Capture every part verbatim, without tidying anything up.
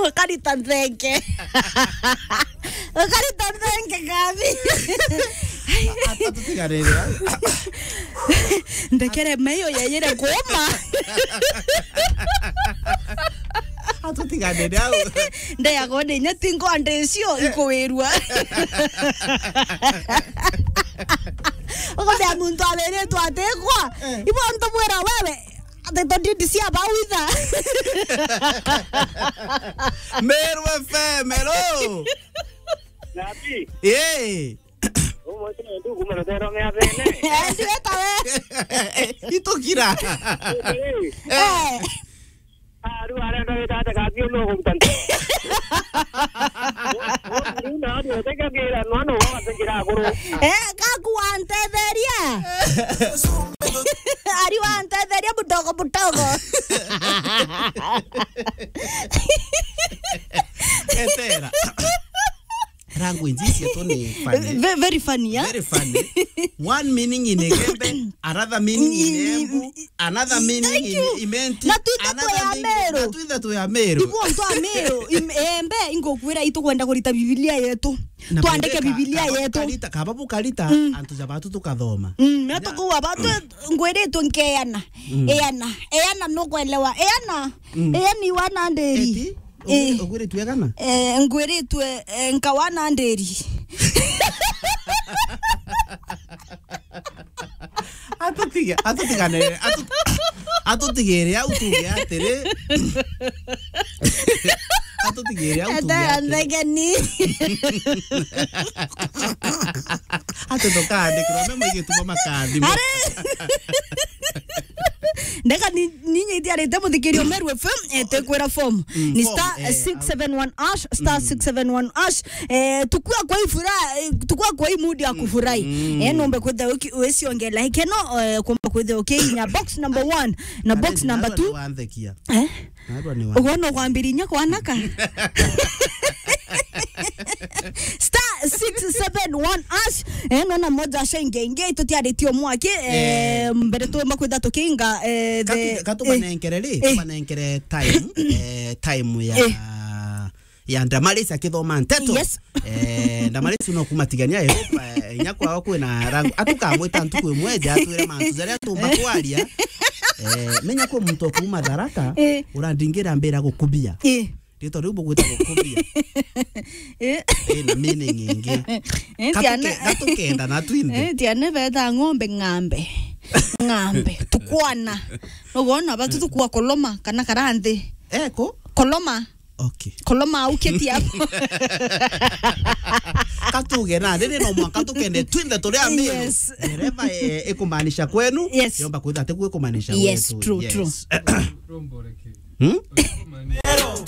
Ukarita nthenge. Ukarita nthenge, Gabi. Atutigarire. Ndekere meyo yeyire kuuma. Atutiganire au. Ndeyagwo ni inya tingo ande icio ikuwirua. Ukumenya muntu awiritwe atikwa. Eh. Ibo ntumwira wewe, ati tondindi cia bau itha. Meru F M, hello. Nabi. Yee. Umwe tu ndu kuma rutero mea bene. Eh, ndiweta we. Itukira. Eh. Eh. Aru arenda wita ate kathi no gumtanta. Aru na aru teka gira no no wa tengira guru. Eh, kaku wantetheria. Ari wantetheria budogo budogo. Etera. Language ici tu ni funny. Ve-, very funny, yeah? Very funny. One meaning in Igembe, another meaning in Embu, another meaning in Imenti, na twithe twi Ameru. Na twithe twi Ameru. Ibu antu Ameru, im-, Embe, ingukwira itukwenda kurita Biblia yetu. Na twandike Biblia yetu. Kaba bukarita, antu ja batu tukathoma. Mm, na tukuwa batu ngwiritwe nkeana. Mm. Eana, eana nukwelewa. Eana, eani wana ndiri. Eti? Eh. Ugwiri-, ugwiritwe egana? Eh, ngwiritwe, eh, nkawa na ndiri. Atutige-, atutigane, atu-, atutigire au tuge atiri. Atutigire au tuge atiri. Nthegeni. Ati ndukandikirwa memo igituma makathimwo. Ari. Ndeka ni, ni nyitiarite muthikirio Meru F M, eh, tekwira form. Mm, ni form, star, eh, six seven one hash, star six seven one hash. Eh, tukua kwa ifura, eh, tukua kwa imudi ya kufurahi. Mm. Eh, nombe kwitha wiki wisiongela. Ikeno, eh, kumba kwitha ukinya box number one na box number two. Wanthekia. Eh? Narua ni wa- Uguo no kwambiriria kwanaka. Star six seven one hash. Eh, nona moja asha inge inge itutiaritie mwaki, eh, mbere tumba kwitha tukinga, eh, the, katu-, katumanenkere ri, eh, tumanenkere time, eh, time ya, eh, ya Ndamaris akithoma nteto. Yes. Eh, Ndamaris no kumatigania, eh, eh, inya kwao kwina rangu. Atukamwita ntuku imwe ja atwire mantu jaria tumba kwaria. Eh, menya kwi muntu okuma Tharaka, eh, urandingira mbira gukubia. Eh. Rito riu bugwita gukubia. Eh. Eh, na meaning ingi. Eh, katuke-, tiana-, katukenda na twinthe. Eh, tiana beta ng'ombe ng'ambe. Ng'ambe. Tukwana. Nugona batu tukua koloma kana karanthi. Eko? Koloma. Okay. Koloma uketi hapo. Katuge na, riri no mwanka tukende twinthe turi Ameru. Yes. Dereva, eh, ikumaanisha kwenu, yes, yomba kwitha ati kwi kumaanisha gwetu. Yes, true, true. Hmm?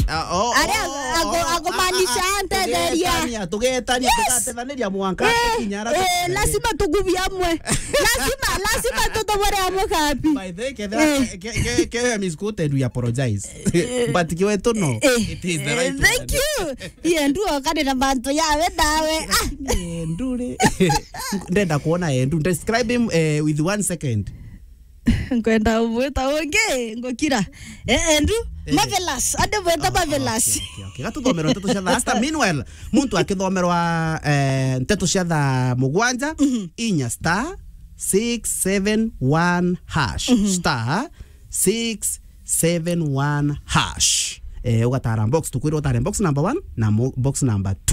Ah, oh, ari oh, ago-, oh, agomaanisha ah, ah, antetheria. Tugetania, tugetania, yes, tugatethaniria mwanka, eh, tukinya ara, eh, tukubie. Lazima tukubie amwe. Lazima, lazima tutobore amwe kapi. By the way, ketha, eh, ke, ke, ke, Miss Kutedu, we apologize. But kiwetu no. Eh, it is the right one. Thank you. Yendu okanira mantu yawe nawe. Ah. Yendu ri. Ndenda kuona Yendu. Describe him, eh, with one second. Nkwenda umwita ungi, ngukira. Eh, Yendu, eh, Marvelous. Ande mwita, oh, Marvelous. Okay, okay, okay. Gatuthomero nteto cia thaa sita. Meanwhile, muntu akithomerwa, eh, nteto cia thaa mugwanja, mhm, inya star six seven one hash. Mhm. Star six seven one hash. Eh, ugatara box, tukwirwa utare box number one na mo-, box number two.